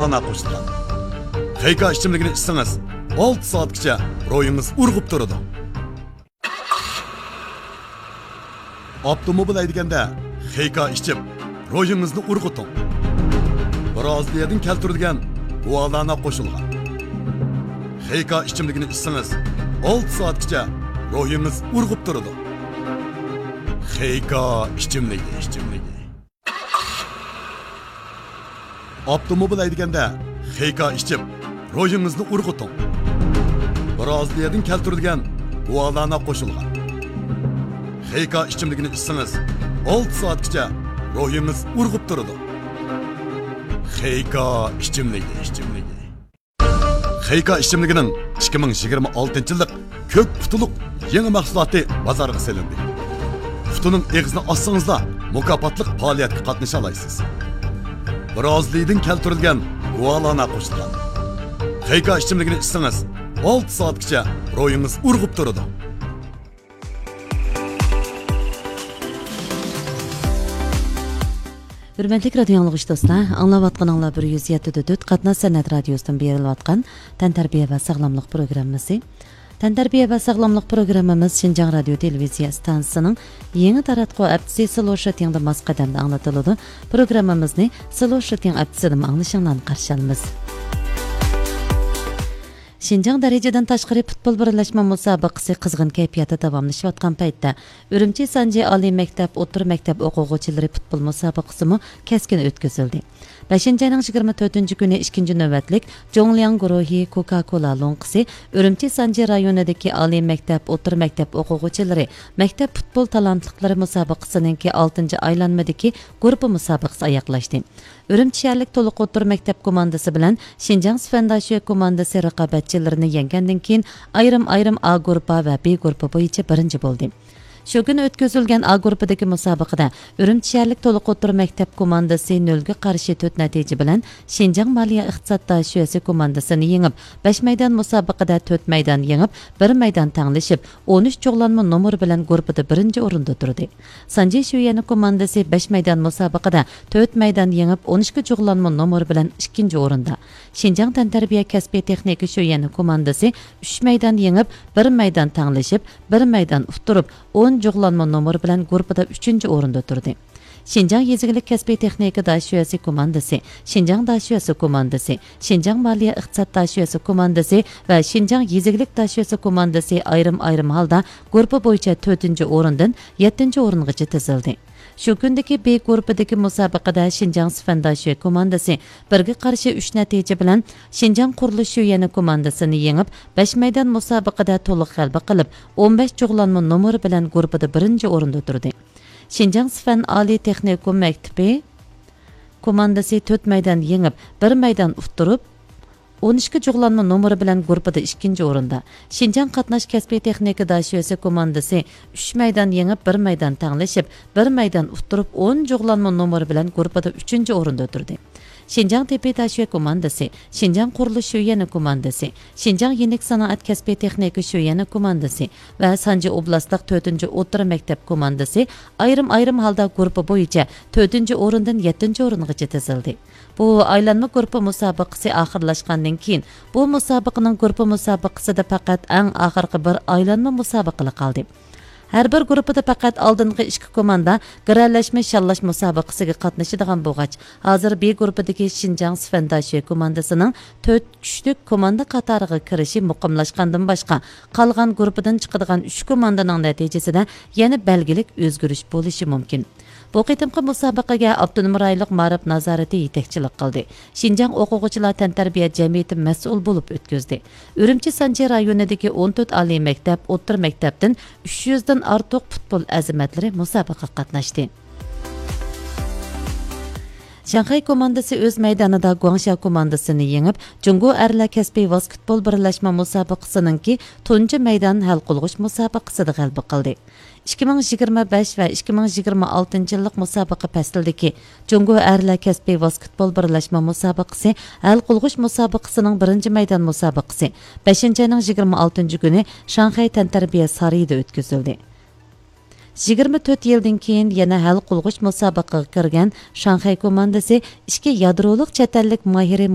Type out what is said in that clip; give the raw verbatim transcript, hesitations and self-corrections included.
ئانا قوشۇلغان. خېيكا ئىچىملىكىنى ئىچسىڭىز، ئالتە سائەتكىچە روھىڭىز ئۇرغۇپ تۇرىدۇ. ئاپتوموبىل ھەيدىگەندە خېيكا ئىچىپ، روھىڭىزنى ئۇرغۇتۇڭ. بىرازىلىيەدىن كەلتۈرۈلگەن گۇالانا قوشۇلغان. خېيكا ئىچىملىكىنى ئىچسىڭىز، ئالتە سائەتكىچە روھىڭىز ئۇرغۇپ تۇرىدۇ. خېيكا ئىچىملىكى، ئىچىملىكى. ئاپتوموبىل ھەيدىگەندە خېيكا ئىچىپ، روھىڭىزنى ئۇرغۇتۇڭ. بىرازىلىيەدىن كەلتۈرۈلگەن گۇالانا قوشۇلغان. خېيكا ئىچىملىكىنى ئىچسىڭىز، ئالتە سائەتكىچە روھىڭىز ئۇرغۇپ تۇرىدۇ. خېيكا ئىچىملىكى، ئىچىملىكى. خېيكا ئىچىملىكىنىڭ ئىككى مىڭ يىگىرمە ئالتىنچى يىللىق كۆك قۇتىلىق يېڭى مەھسۇلاتى بازارغا سېلىندى. قۇتىنىڭ ئېغىزىنى ئاچسىڭىزلا، مۇكاپاتلىق پائالىيەتكە قاتنىشالايسىز. بىرازىلىيەدىن كەلتۈرۈلگەن گۇالانا قوشۇلغان. خېيكا ئىچىملىكىنى ئىچسىڭىز، ئالتە سائەتكىچە روھىڭىز ئۇرغۇپ تۇرىدۇ. ھۆرمەتلىك رادىيو ئاڭلىغۇچى دوستلار، ئاڭلاۋاتقىنىڭلار بىر يۈز يەتتە دۆت قاتناش سەنئەت رادىيوسىدىن بېرىلىۋاتقان تەنتەربىيە ۋە ساغلاملىق پروگراممىسى. تەنتەربىيە ۋە ساغلاملىق پروگراممىمىز شىنجاڭ رادىيو تېلېۋىزىيە ئىستانسىسىنىڭ يېڭى تاراتقۇ ھەپتىسى سلو شىتىڭدا ماس قەدەمدە ئاڭلىتىلىدۇ. پروگراممىمىزنى سلو شىتىڭ ھەپتىسىدىمۇ ئاڭلىشىڭلارنى قارشى ئالىمىز. شىنجاڭ دەرىجىدىن تاشقىرى پۇتبول بىرلەشمە مۇسابىقىسى قىزغىن كەيپىياتتا داۋاملىشىۋاتقان پەيتتە، ئۈرۈمچى سانجى ئالىي مەكتەپ، ئوتتۇرا مەكتەپ ئوقۇغۇچىلىرى پۇتبول مۇسابىقىسىمۇ كەسكىن ئۆتكۈزۈلدى. بەشىنچى ئاينىڭ يىگىرمە تۆتىنچى كۈنى ئىككىنچى نۆۋەتلىك جۇڭلياڭ گۇرۇھى كوكا كولا لوڭقىسى ئۈرۈمچى سانجى رايونىدىكى ئالىي مەكتەپ، ئوتتۇرا مەكتەپ ئوقۇغۇچىلىرى مەكتەپ پۇتبول تالانتلىقلىرى مۇسابىقىسىنىڭكى ئالتىنچى ئايلانمىدىكى گۇرۇپپا مۇسابىقىسى ئاياغلاشتى. ئۈرۈمچى شەھەرلىك تولۇق ئوتتۇرا مەكتەپ كوماندىسى بىلەن شىنجاڭ سۈفەنداشۈە كوماندىسى رىقابەتچىلىرىنى يەڭگەندىن كېيىن، ئايرىم-ئايرىم ئا گۇرۇپپا ۋە بى گۇرۇپپا بويىچە بىرىنچى بولدى. شۇ كۈنى ئۆتكۈزۈلگەن ئا گۇرۇپپىدىكى مۇسابىقىدە ئۈرۈمچى شەھەرلىك تولۇق ئوتتۇرا مەكتەپ كوماندىسى نۆلگە قارشى تۆت نەتىجە بىلەن شىنجاڭ مالىيە ئىقتىساد داشۆسى كوماندىسىنى يېڭىپ، بەش مەيدان مۇسابىقىدە تۆت مەيدان يېڭىپ، بىر مەيدان تەڭلىشىپ، ئون ئۈچ جۇغلانما نومۇر بىلەن گۇرۇپپىدا بىرىنچى ئورۇندا تۇردى. سانجى شۈيەنى كوماندىسى بەش مەيدان مۇسابىقىدە تۆت مەيدان يېڭىپ، ئون ئىككى جۇغلانما نومۇر بىلەن ئىككىنچى ئورۇندا. شىنجاڭ تەنتەربىيە كەسپىي تېخنىكا شۈيەنى كوماندىسى ئۈچ مەيدان يېڭىپ، بىر مەيدان تەڭلىشىپ، بىر مەيدان ئۇتتۇرۇپ، ئون جۇغلانما نومۇر بىلەن گۇرۇپپىدا ئۈچىنچى ئورۇندا تۇردى. شىنجاڭ يېزا ئىگىلىك كەسپىي تېخنىكا داشۆسى كوماندىسى، شىنجاڭ داشۆسى كوماندىسى، شىنجاڭ مالىيە ئىقتىساد داشۆسى كوماندىسى ۋە شىنجاڭ يېزا ئىگىلىك داشۆسى كوماندىسى ئايرىم-ئايرىم ھالدا گۇرۇپپا بويىچە تۆتىنچى ئورۇندىن يەتتىنچى ئورۇنغىچە تىزىلدى. شۇ كۈندىكى بى گۇرۇپپىدىكى مۇسابىقىدە شىنجاڭ سۈفەنداشۈە كوماندىسى بىرگە قارشى ئۈچ نەتىجە بىلەن شىنجاڭ قۇرۇلۇش شۈيەنى كوماندىسىنى يېڭىپ، بەش مەيدان مۇسابىقىدە تولۇق غەلىبە قىلىپ، ئون بەش جۇغلانما نومۇر بىلەن گۇرۇپپىدا بىرىنچى ئورۇندا تۇردى. شىنجاڭ سۈفەن ئالىي تېخنىكوم مەكتىپى كوماندىسى تۆت مەيدان يېڭىپ، بىر مەيدان ئۇتتۇرۇپ، ئون ئىككى جۇغلانما نومۇرى بىلەن گۇرۇپپىدا ئىككىنچى ئورۇندا. شىنجاڭ قاتناش كەسپىي تېخنىكا داشۆسى كوماندىسى ئۈچ مەيدان يېڭىپ، بىر مەيدان تەڭلىشىپ، بىر مەيدان ئۇتتۇرۇپ، ئون جۇغلانما نومۇرى بىلەن گۇرۇپپىدا ئۈچىنچى ئورۇندا تۇردى. شىنجاڭ تېببىي داشۆ كوماندىسى، شىنجاڭ قۇرۇلۇش شۆيۈەنى كوماندىسى، شىنجاڭ يېنىك سانائەت كەسپىي تېخنىكا شۆيۈەنى كوماندىسى ۋە سانجى ئوبلاستلىق تۆتىنچى ئوتتۇرا مەكتەپ كوماندىسى ئايرىم-ئايرىم ھالدا گۇرۇپپا بويىچە تۆتىنچى ئورۇندىن يەتتىنچى ئورۇنغىچە تىزىلدى. بۇ ئايلانما گۇرۇپپا مۇسابىقىسى ئاخىرلاشقاندىن كېيىن، بۇ مۇسابىقىنىڭ گۇرۇپپا مۇسابىقىسىدە پەقەت ئەڭ ئاخىرقى بىر ئايلانما مۇسابىقىلا قالدى. ھەر بىر گۇرۇپپىدا پەقەت ئالدىنقى ئىككى كوماندا گىرەلەشمە شاللاش مۇسابىقىسىگە قاتنىشىدىغان بولغاچ، ھازىر بى گۇرۇپپىدىكى شىنجاڭ سۈفەنداشۆ كوماندىسىنىڭ تۆت كۈچلۈك كوماندا قاتارىغا كىرىشى مۇقىملاشقاندىن باشقا، قالغان گۇرۇپپىدىن چىقىدىغان ئۈچ كوماندىنىڭ نەتىجىسىدە يەنە بەلگىلىك ئۆزگىرىش بولۇشى مۇمكىن. بۇ قېتىمقى مۇسابىقىگە ئاپتونوم رايونلۇق مائارىپ نازارىتى يېتەكچىلىك قىلدى. شىنجاڭ ئوقۇغۇچىلار تەنتەربىيە جەمئىيىتى مەسئۇل بولۇپ ئۆتكۈزدى. ئۈرۈمچى سانجى رايونىدىكى ئون تۆت ئالىي مەكتەپ، ئوتتۇرا مەكتەپتىن ئۈچ يۈزدىن ئارتۇق پۇتبول ئەزىمەتلىرى مۇسابىقىگە قاتناشتى. شاڭخەي كوماندىسى ئۆز مەيدانىدا گۇاڭشيا كوماندىسىنى يېڭىپ، جۇڭگو ئەرلەر كەسپىي ۋاسكېتبول بىرلەشمە مۇسابىقىسىنىڭكى تۇنجى مەيدان ھەل قىلغۇچ مۇسابىقىسىدە غەلىبە قىلدى. ئىككى مىڭ يىگىرمە بەش ۋە ئىككى مىڭ يىگىرمە ئالتىنچى يىللىق مۇسابىقە پەسلىدىكى جۇڭگو ئەرلەر كەسپىي ۋاسكېتبول بىرلەشمە مۇسابىقىسى ھەل قىلغۇچ مۇسابىقىسىنىڭ بىرىنچى مەيدان مۇسابىقىسى بەشىنچى ئاينىڭ يىگىرمە ئالتىنچى كۈنى شاڭخەي تەنتەربىيە سارىيىدا ئۆتكۈزۈلدى. يىگىرمە تۆت يىلدىن كېيىن يەنە ھەل قىلغۇچ مۇسابىقىگە كىرگەن شاڭخەي كوماندىسى ئىككى يادرولۇق چەت ئەللىك ماھىرى